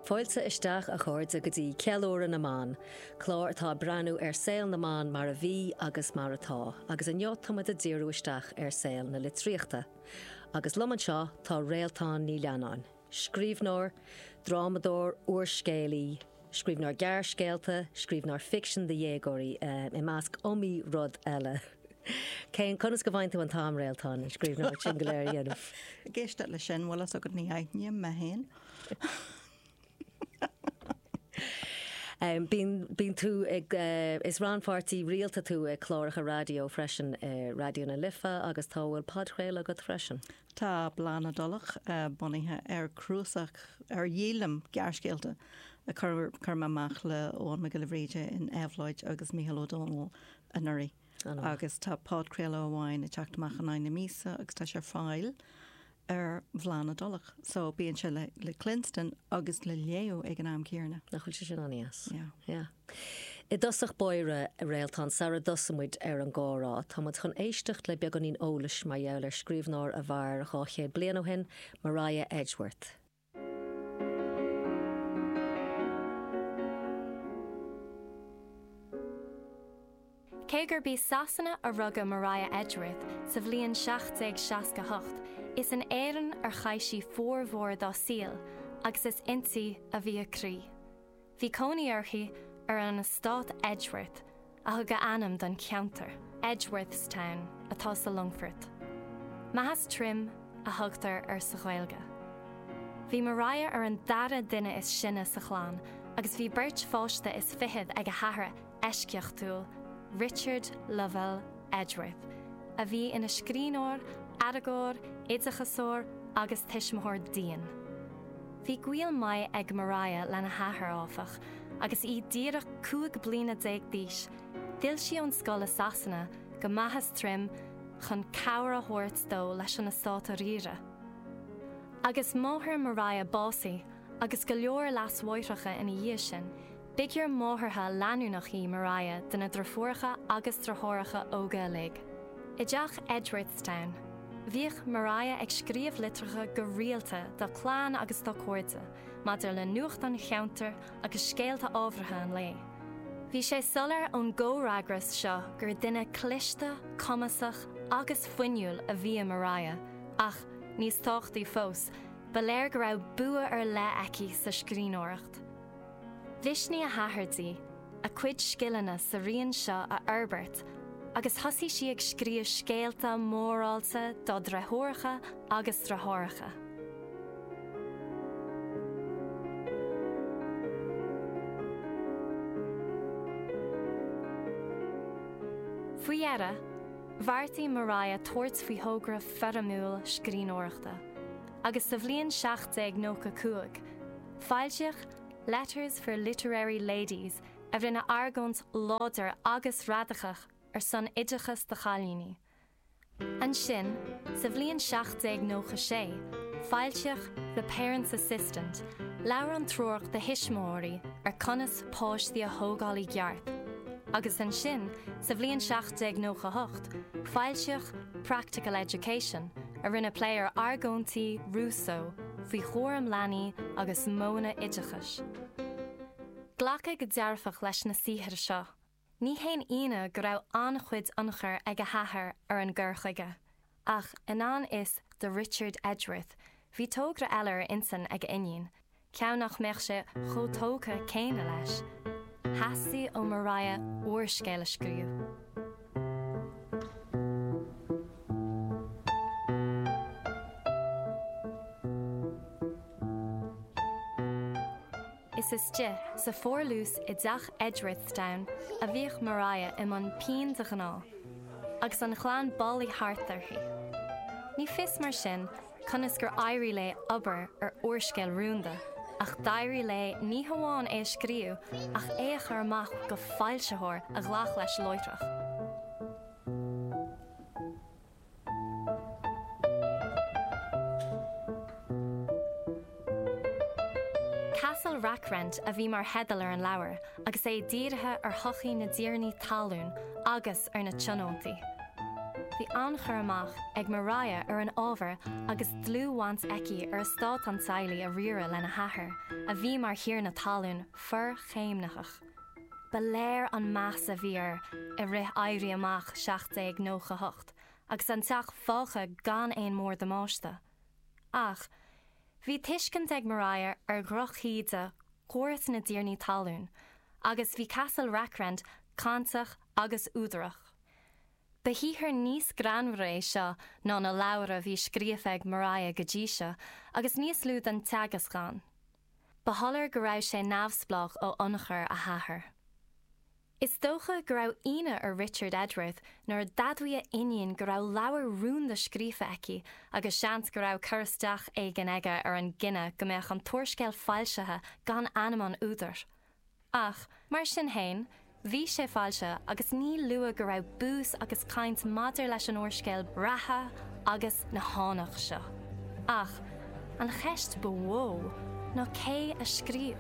Fáilte isteach, a chairde, go dtí Ceiliúradh na mBan, clár atá ag breathnú ar saol na mban mar a bhí agus mar atá, agus inniu tá muid ag díriú isteach ar saol na litríochta. Agus liom anseo tá Réaltán Ní Leannáin, scríbhneoir, drámadóir, úrscéalaí, scríbhneoir gearrscéalta, scríbhneoir ficsin do dhéagóirí, i measc iomaí rud eile. Cén, conas go bhfaigheann tú an t-am, Réaltán, an scríbhneoireacht sin go léir a dhéanamh? Ag éisteacht leis sin, bhfuil fhios agat, ní aithním mé féin. Bíonn, bíonn tú ag, is rannpháirtí rialta tú i cláracha raidió freisin, i Raidió na Life agus tá, bhfuil podchraoladh agat freisin? Tá Bláth na dTulach bunaithe ar chnuasach, ar dhíolaim gearrscéalta a chuir mé amach le Eoghan Mac Giolla Bhríde in Éabhlóid agus Mícheál Ó Domhnaill anuraidh. Agus tá podchraoladh amháin ag teacht amach in aghaidh na míosa agus tá sé ar fáil ar Bhláth na dTulach. So bíonn sé le le cluinstin agus le léamh ag an am céanna. Nach bhfuil sé sin an-deas? Yeah. Yeah. I dtosach báire, a Réaltán, sara dtosaíonn muid ar an gcomhrá, tá muid chun éisteacht le beagáinín eolais mar gheall ar scríbhneoir a mhair 200 bliain ó shin, Maria Edgeworth. Cé gurb i Sasana a rugadh Maria Edgeworth sa bhliain 1768, is in Éirinn ar chaith sí formhór dá saol agus is inti a bhí a croí. Bhí cónaí uirthi ar an eastát Edgeworth, a thug a ainm don cheantar, Edgeworthstown, atá sa Longfort. Meathas Troim a thugtar air sa Ghaeilge. Bhí Maria ar an dara duine is sine sa chlann agus bhí beirt pháiste is fichead ag a hathair eisceachtúil, Richard Lovell Edgeworth, a bhí ina scríbhneoir, aireagóir, oideachasóir agus tuismitheoir dian. Bhí gaol maith ag Maria lena hathair, áfach, agus í díreach 15 bliana d'aois, d'fhill sí ón scoil i Sasana go Meathas Troim chun cabhair a thabhairt dó leis an eastát a riaradh. Agus máthair Maria básaithe agus go leor leasmháithreacha ina dhiaidh sin, b'fhígiúr máthartha leanúnach í Maria do na deirfiúracha agus deartháireacha óga uilig. I dteach Edgeworthstown, bhíodh Maria ag scríobh litreacha go rialta dá clann agus dá cairde maidir le nuacht an cheantair agus scéalta ábhartha an lae. Bhí sé soiléir ón gcomhfhreagras seo gur duine cliste, cumasach agus fuinniúil a bhí i Maria ach, níos tábhachtaí fós, ba léir go raibh bua ar leith aici sa scríbhneoireacht. Mhisnigh a hathair di a cuid scileanna sa raon seo a fhorbairt agus thosaigh sí ag scríobh scéalta mórálta dá deirfiúracha agus deartháireacha. Faoi dheireadh, bheartaigh Maria tabhairt faoi thogra foirmiúil scríbhneoireachta agus sa bhliain 1795, Foilsíodh Letters for Literary Ladies a rinne argóint láidir agus radacach ar son oideachas do chailíní. Ansin, sa bhliain 1796, foilsíodh The Parent's Assistant, leabhrán treorach do thuismitheoirí ar conas páistí a thógáil i gceart. Agus ansin, sa bhliain 1798, foilsíodh Practical Education, a rinne plé ar argóintí Rousseau faoi chúram leanaí agus modhanna oideachais. Glacadh go dearfach leis na saothair seo. Ní haon ionadh go raibh an-chuid ionchur ag a hathair ar an gcur chuige. Ach i ngan fhios do Richard Edgeworth, bhí togra eile ar intinn ag a iníon, ceann nach mbeadh sé chomh tógtha céanna leis. Theastaigh ó Maria úrscéal a scríobh. Is istigh sa pharlús i dteach Edgeworthstown a bhíodh Maria i mbun pinn de ghnáth, agus an chlann bailithe thart uirthi. Ní fios mar sin conas gur éirigh léi obair ar úrscéal rúnda, ach d'éirigh léi ní hamháin é a scríobh ach é a chur amach go foilsitheoir a ghlac leis láithreach. Castle Rackrent a bhí mar theideal ar an leabhar agus é dírithe ar shochaí na dtiarnaí talún agus ar na tionóntaí. Bhí an-chur amach ag Maria ar an ábhar agus dlúthbhaint aici ar eastát an teaghlaigh a riaradh lena hathair, a bhí mar thiarna talún forchéimnitheach. Ba léir an meas a bhí air i rith Éirí Amach 1798 agus an teach fágtha gan aon mhór-damáiste. Ach, bhí tuiscint ag Maria ar dhrochíde chóras na dtiarnaí talún agus bhí Castle Rackrent cáinteach agus údarach. Ba shaothar níos greannmhaire é seo ná na leabhair a bhí scríofa ag Maria go dtí seo agus níos lú den teagasc ann. Ba shoiléir go raibh sé neamhspleách ó ionchur a hathar. Is dócha go raibh ionadh ar Richard Edgeworth nuair a d'admhaigh a iníon go raibh leabhar rúnda scríofa aici agus seans go raibh cur isteach éigin aige ar an gcinneadh go mbeadh an t-úrscéal foilsithe gan ainm an údair. Ach, mar sin fhéin, bhí sé foilsithe agus ní luath go raibh bús agus caint maidir leis an úrscéal reatha agus na hánach seo. Ach, an cheist ba mhó ná cé a scríobh?